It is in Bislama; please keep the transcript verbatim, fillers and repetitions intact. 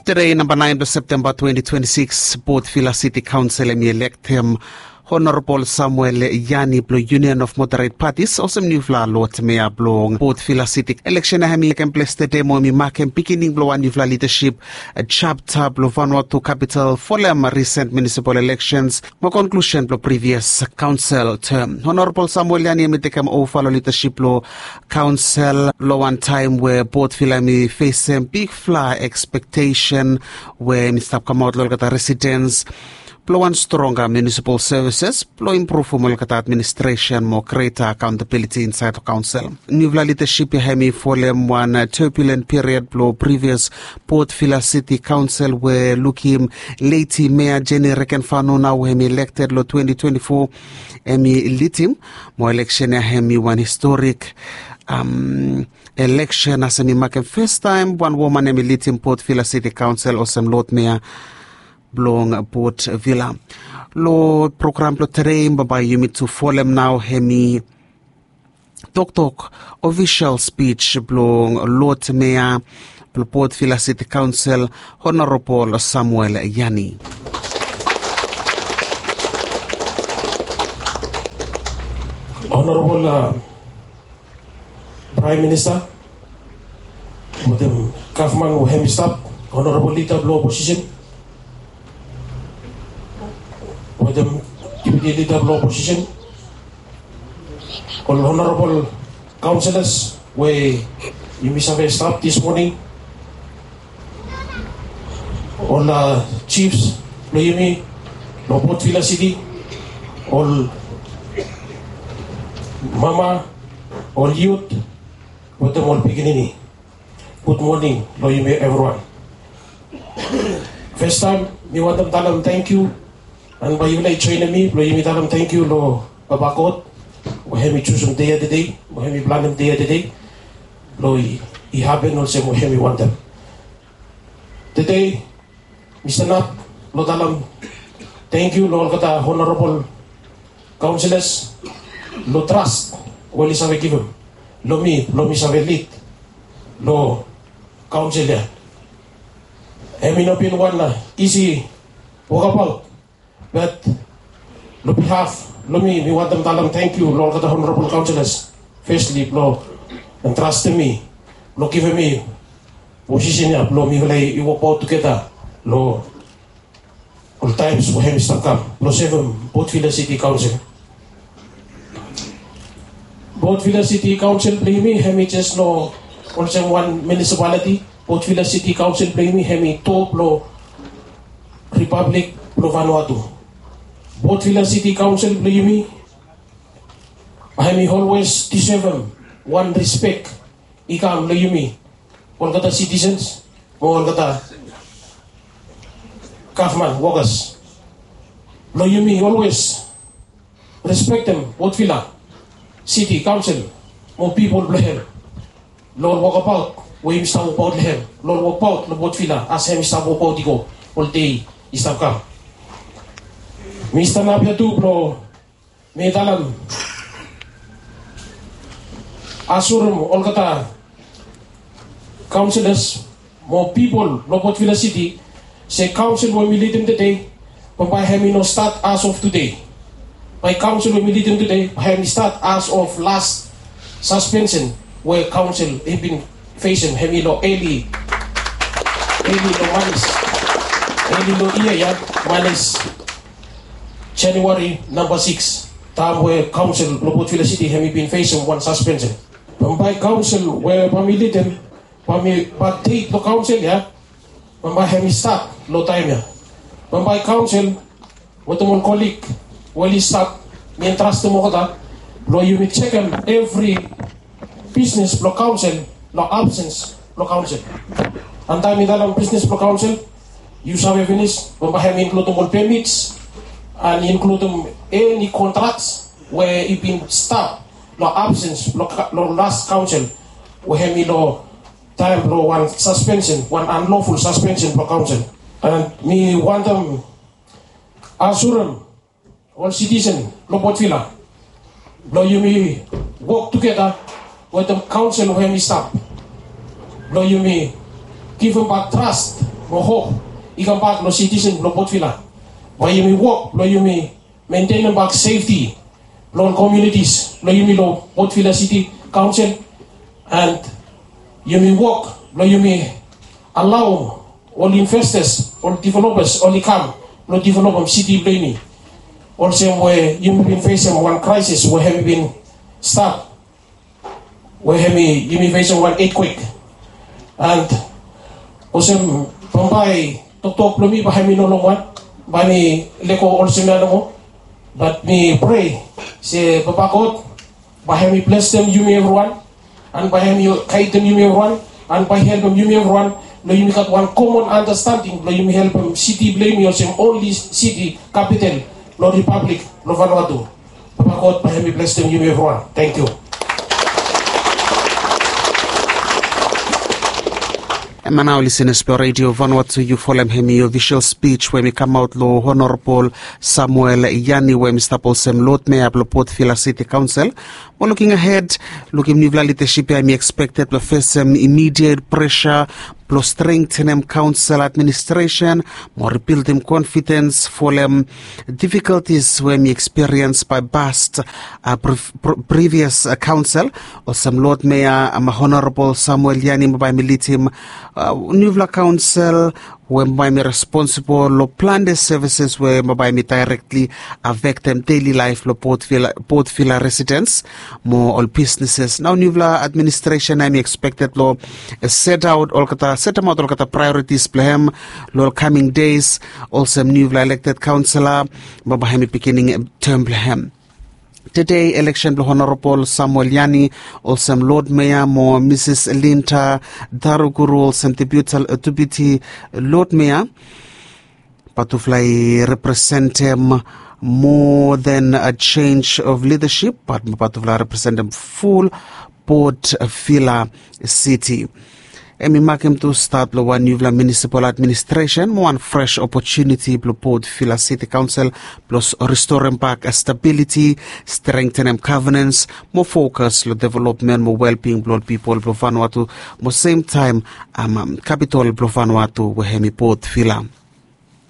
Tede namba naen blong Septemba twenti twenti sikis, Port Vila City Kaonsel hemi elektem Honorabol Samuel Yani blong Union of Moderate Parties olsem niufala Lord Mayor blong Port Vila City. Eleksen ya hemi tekem ples tede mo hemi makem pikinini blong wan niufala lidasip japta blong Vanuatu kapital folem risen munisipal eleksens mo konklusen blong privias kaonsel tem. Honorabol Samuel Yani hemi tekem ova long lidasip blong kaonsel long wan taem we Port Vila hemi fesem bigfala ekspektesen we hemi stap kamaot long olgeta residens blong wan stronga munisipal sevises blong impruvum olgeta administresen mo greta akaontabiliti insaed long kaonsel. Niufala lidasip ya hemi folem wan turbulent period blong privias Port Vila City Kaonsel we lukim Lady Mayor Jenny Rekenfano nao we hemi elekted long twenti twenti fo, hemi lidim. Mo eleksen ya hemi wan historik eleksen as hemi makem fastaem wan woman hemi lidim Port Vila City Kaonsel olsem Lord Mayor blong Port Vila. Long program blong tede bambae yumi tu folem nao hemi toktok ofisol spij blong Lord Mayor blong Port Vila City Kaonsel, Honorabol Samuel Yani. Honorabol Praem Minista wetem gavman we hemi stap, honorabol lida blong oposisen wetem dipiti lida blong oposisen, ol honorabol kaonselas we yumi save stap dis moning, ol jifs blong yumi long Port Vila City, ol mama, ol yut wetem ol pikinini. Gud moning long yumi evriwan. Fastaem mi wantem talem tangkiu, an bae yufala i joenem mi blong yumi talem tangkiu long Papa God we hemi jusum dei ya tede, we hemi planem dei ya tede blong i hapen olsem we hemi wantem. Tede mi stanap blong talem tangkiu long olgeta honorabol kaonselas long tras we oli save givim long mi blong mi save lid long kaonsel ya. Hemi no bin wan isi wokabaot, bat long bihaf blong mi mi wantem talem tangkiu long olgeta honorabol kaonselas, fesli blong trastem mi blong givim mi posisen ya blong mifala i wokbaot tugeta long ol taems we hemi stap kam blong sevem Port Vila City Kaonsel. Port Vila City Kaonsel blong yumi hemi jes no olsem wan munisipaliti. Port Vila City Kaonsel blong yumi hemi to blong Ripablik blong Vanuatu. Port Vila City Kaonsel blong yumi hemi olwes disevem wan rispek i kam long yumi olgeta sitisens mo olgeta gavman wokas blong yumi olwes respektem Port Vila City Kaonsel mo pipol blong hem long ol wokabaot we yumi stap wokbaot long hem, long ol wokbaot long Port Vila as hemi stap wokbaot i go ol dei i stap kam. Mi stanap ya tu blong mi talem asurem olgeta kaonselas mo pipol long Port Vila City se kaonsel we mi lidim tede bambae hemi no stat as of tede. Bae kaonsel we mi lidim tede bae hemi stat as of las saspensen we kaonsel i bin fesem hemi long eli, eli long manis, eli long yia ya, manis Januari namba sikis, taem we kaonsel blong Port Vila City hemi bin fesem wan saspensen. Bambae kaonsel we bae mi lidim, bae mi, bae deit blong kaonsel ya bambae hemi stat long taem ya. Bambae kaonsel wetem ol kolig we oli stap, mi entrastem olgeta blong yumi jekem evri bisnes blong kaonsel long absens blong kaonsel. Antaem mi talem bisnes blong kaonsel, yu save finis bambae hemi inkludim ol pemits an inkludim eni kontraks we i bin stap long absens blong las kaonsel we hemi long taem blong wan saspensen, wan anloful saspensen blong kaonsel. An mi wantem asurem ol sitisen blong Port Vila blong yumi wok tugeta wetem kaonsel we hemi stap blong yumi givim bak tras Mo hop i kambak long sitisen blong Port Vila, bae yumi wok blong yumi mentenem bak sefti blong ol komiunitis blong yumi long Port Vila City Council, and yumi wok blong yumi alao ol investors, ol developers oli kam blong developem siti blong yumi. Olsem we yumi bin fesem wan crisis we hemi bin stap, we hemi yumi fesem wan earthquake. And olsem bambae toktok blong mi bae hemi no longwan, bae mi lego olsem ya nomo. Bat mi prea se Papa God bae hemi blesem yumi evriwan, and bae hemi gaidem yumi evriwan, and bae helpem yumi evriwan blong yumi gat wan common understanding blong yumi helpem siti blong yumi olsem only city capital blong Republic blong Vanuatu. Papa God bae hemi blesem yumi evriwan. Thank you. Hemia nao lisenas blong Radio Vanuatu, yu folem hemi ofisol spij we hemi kamaot long Honorabol Samuel Yani we hemi stap olsem Lod Mea blong Port Vila City Council. Mo luking ahed, lukim niufala lidasip ya hemi ekspekted blong fesem imidiet presa blong strengtenem kaonsel administresen mo ribildim konfidens folem difikultis we hemi ekspiriens bae past, a, previas kaonsel. Olsem Lod Mea, a, Honorabol Samuel Yani bae hemi lidim niufala kaonsel we bae hemi responsibol long plante sevises we bae hemi daerektli afektem deli laef blong Port Vila residens mo ol bisneses. Nao niufala administresen hemi ekspekted long setaot olgeta, setemaot olgeta praeoritis blong hem long ol kaming des olsem niufala elekted kaonsela, bae hemi biginim tem blong hem. Tede eleksen blong Honorabol Samuel Yani olsem Lod Mea mo Misis Linda Daruguru olsem Deputi Lod Mea, batufala i representem more than a change of leadership, bat batufala i representem ful Port Vila City. Hemi makem tu stat blong wan niufala munisipal administresen mo wan fres opotuniti blong Port Vila City Kaonsel blong ristorem bak stabiliti, strengtenem gavenens mo fokas long developmen mo welbing blong ol pipol blong Vanuatu mo semtaem kapitol blong Vanuatu we hemi Port Vila.